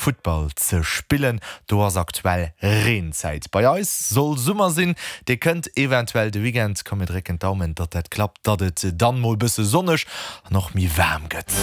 Futtball ze spillen. Do ass aktuell Reenzäit. Bei eis soll Summer sinn, dee kënnt eventuell de Weekend. Komm mir drécken d'Daumen, datt dat klappt, datt et dann mol bësse sonneg an och méi waarm gëtt.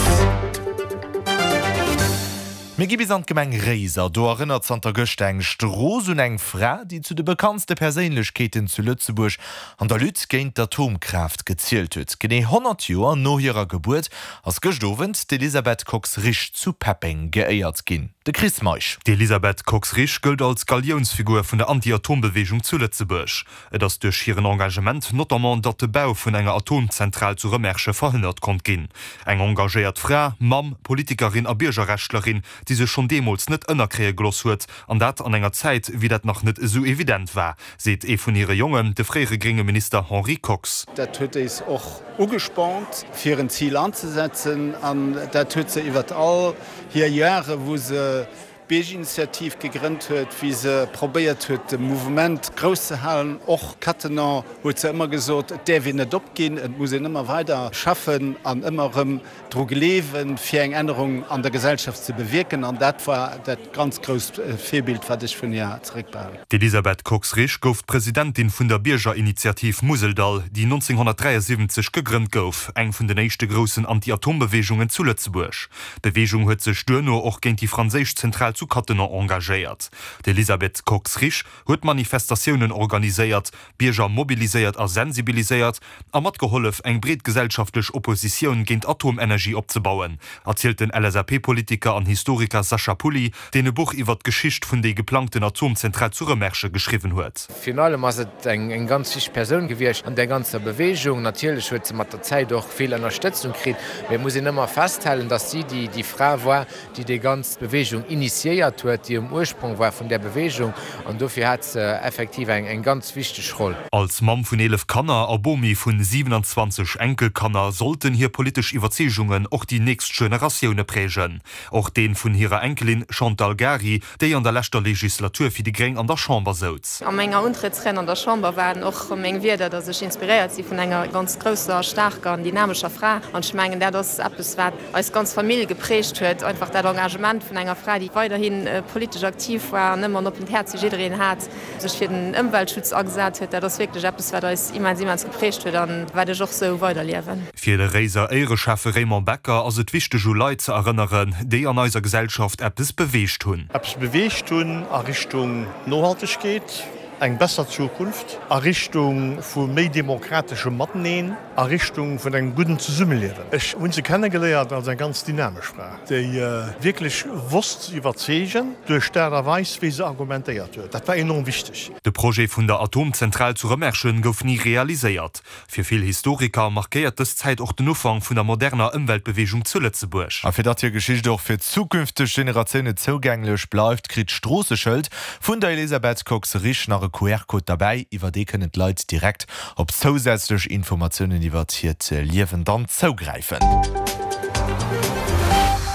Mir gi bis an d'Gemeng Réiser. Do erënnert zanter gëschter eng Strooss un eng Fra, déi zu de bekanntste Perséinlechkeeten zu Lëtzebuerg an der Lutte géint d'Atomkraaft gezielt huet. Genee 100 Joer no hirer Gebuert ass gëscht Owend d'Elisabeth Kox-Risch zu Peppeng geéiert ginn. De Chris Meisch. D'Elisabeth Kox-Risch gëllt als Galiounsfigur vun der Anti-Atom-Beweegung zu Lëtzebuerg. Et ass duerch hiren Engagement notamment, datt de Bau vun enger Atomzentral zu Rëmerschen verhënnert konnt ginn. Eng engagéiert Fra, Mamm, Politikerin a Biergerrechtlerin, déi sech schonn deemools net ënnerkréie geloss huet, an dat an enger Zäit, wéi dat nach net esou evident war, seet ee vun hire Jongen, de fréiere grénge Minister Henri Kox. Dat huet éis och ugespornt, fir en Zil anzesetzen, an dat huet se iwwert all hir Jahre, wou se Bierginitiativ gegrënnt huet, wéi se probéiert huet de Mouvement grouss ze halen. Och Cattenom huet se ëmmer gesot, et däerf een net opginn, et muss een ëmmer weider schaffen an ëmmer erëm dru gleewen, fir eng Ännerung an der Gesellschaft ze bewierken. An dat war dat ganz grousst Virbild, wat ech vun hir zeréckbehalen. D'Elisabeth Kox-Risch gouf d'Presidentin vun der Biergerinitiativ Museldall, déi 1973 gegrënnt gouf, eng vun den éischte groussen Anti-Atom-Beweegungen zu Lëtzebuerg. D'Beweegung huet sech duerno och géint déi franséisch Zentral zu Cattenom engagéiert. D'Elisabeth Kox-Risch huet Manifestatiounen organiséiert, Bierger mobiliséiert a sensibiliséiert a matgehollef, eng breet gesellschaftlech Oppositioun géint Atomenergie opzebauen, erzielt den LSAP-Politiker an Historiker Sacha Pulli, deen e Buch iwwer d'Geschicht vun déi geplangten Atomzentral zu Rëmerschen geschriwwen huet. Virun allem ass et eng ganz wichteg Persoun gewiescht an där ganzer Beweegung. Natierlech huet se mat der Zäit och vill Ënnerstëtzung kritt, mee et muss een ëmmer festhalen, datt si déi Fra war, déi déi ganz Beweegung initiéiert huet, déi um Ursprong war vun där Beweegung an dofir hat se effektiv eng ganz wichteg Roll. Als Mamm vun 11 Kanner a Bomi vun 27 Enkelkanner sollten hir politesch Iwwerzeegungen och déi nächst Generatioune prägen. Och dee vun hirer Enkelin Chantal Gary, déi an der leschter Legislatur fir déi Gréng an der Chamber souz. A menger Untrëttsried an der Chamber waren och meng Wierder, datt ech inspiréiert si vun enger ganz grousser, staarker an dynamescher Fra. An ech mengen, dat ass eppes, wat eis ganz Famill geprägt huet, einfach dat Engagement vun enger Fra, déi weiderhi politesch aktiv war an ëmmer en oppent Häerz fir jiddereen hat, sech fir den Ëmweltschutz agesat huet. Dat ass wierklech eppes, wat eis immens, immens geprägt huet an wat ech och sou weiderliewen. Fir de Réiser Éiereschäffe Raymond Becker ass et wichteg u Leit ze erënneren, déi an eiser Gesellschaft eppes beweegt hunn. Eppes beweegt hunn a Richtung Nohaltegkeet, eng besser Zukunft, a Richtung vu méi demokrateschem Mateneen, a Richtung vun engem gudden Zesummeliewen. Ech hunn se kennegeléiert als eng ganz dynamesch Fra, déi wierklech wosst ze iwwerzeegen duerch d'Aart a Weis, wéi se argumentéiert huet. Dat war enorm wichteg. De Projet vun der Atomzentral zu Rëmerschen gouf ni realiséiert. Fir vill Historiker markéiert dës Zäit och den Ufank vun der moderner Ëmweltbeweegung zu Lëtzebuerg. A fir datt hir Geschicht och fir zukünfteg Generatioune zougänglech bleift, kritt d'Stroosseschëld vun der Elisabeth Kox-Risch nach e QR-Code derbäi. Iwwer dee kënnen d'Leit direkt op zousätzlech Informatiounen iwwer hiert Liewen dann zougräifen.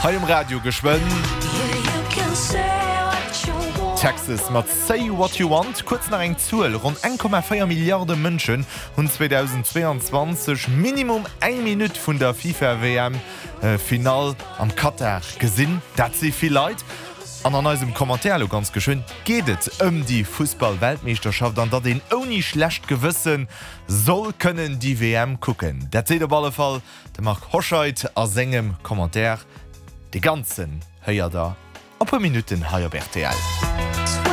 Hei um Radio geschwënn Texas mat Say What You Want. Kuerz nach eng Zuel, Ronn 1,4 Milliarde Mënschen hunn 2022 minimum eng Minutt vun der FIFA-WM Finall am Katar gesinn. Dat si vill Leit. An an eisem Commentaire elo ganz geschwënn geet et ëm déi Fussball-Weltmeeschterschaft an datt een ouni schlecht Gewësse soll kënnen déi WM kucken. Dat seet op alle Fall de Marc Hoscheid a sengem Commentaire. Dee ganzen héiert der a puer Minutten hei op rtl.